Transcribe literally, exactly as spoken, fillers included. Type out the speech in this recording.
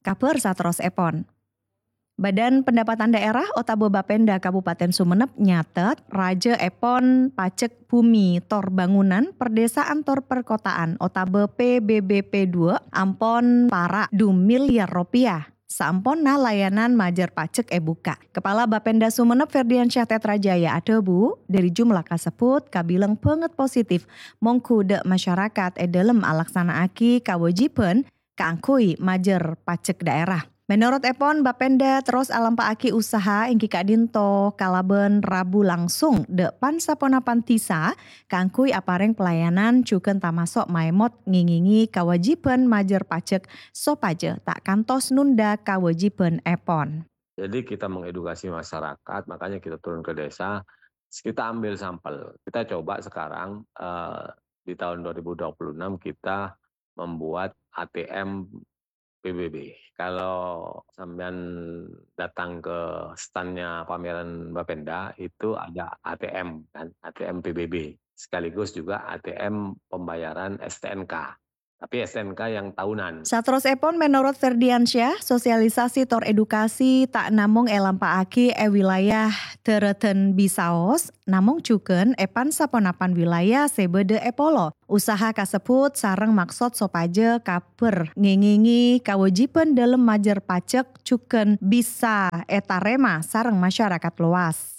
Kabhâr saterrossèpon. Badan Pendapatan Daerah otabâ Bapenda Kabupaten Sumenep nyatet, rajâèpon pajek bumi tor bangunan, perdesaan tor perkotaan otabâ P B B P dua ampon para' du miliar ropèya saamponna layanan majâr pajek èbukka'. Kepala Bapenda Sumenep Ferdiansyah Tetrajaya adhâbu, dhâri jumlah kasebbhut kabilang bângèt positif mongghu dâ' masyarakat è dhâlem alaksana'aghi kawâjibhân kaangghuy majâr pajek daerah. Mènorot èpon, Bapenda terros alampa'aghi usaha èngghi ka'dinto kalabân rabu langsung dâ' pan-saponapan dhisa kaangghuy aparèng pelayanan jhughân tamaso' maèmot ngèngèngè kawâjibhân majâr pajek sopajâ ta' kantos nunda kawâjibhân èpon. Jadi kita mengedukasi masyarakat, makanya kita turun ke desa, kita ambil sampel. Kita coba sekarang eh, di tahun dua ribu dua puluh enam kita membuat A T M P B B. Kalau sampean datang ke standnya pameran Bapenda, itu ada A T M kan, A T M P B B, sekaligus juga A T M pembayaran S T N K. Tapi S T N K yang tahunan. Saterrossèpon, mènorot Ferdiansyah, sosialisasi tor edukasi ta' namong èlampa'aghi è wilayah Dharatan Bisaos, namong jhughân è pan-saponapan wilayah sè bâdâ è polo. Usaha kasebbhut sareng maksod sopajâ kabhâr ngèngèngè kawâjibhân dhâlem majâr pajek jhughân bisa ètarèma sareng masyarakat lowas.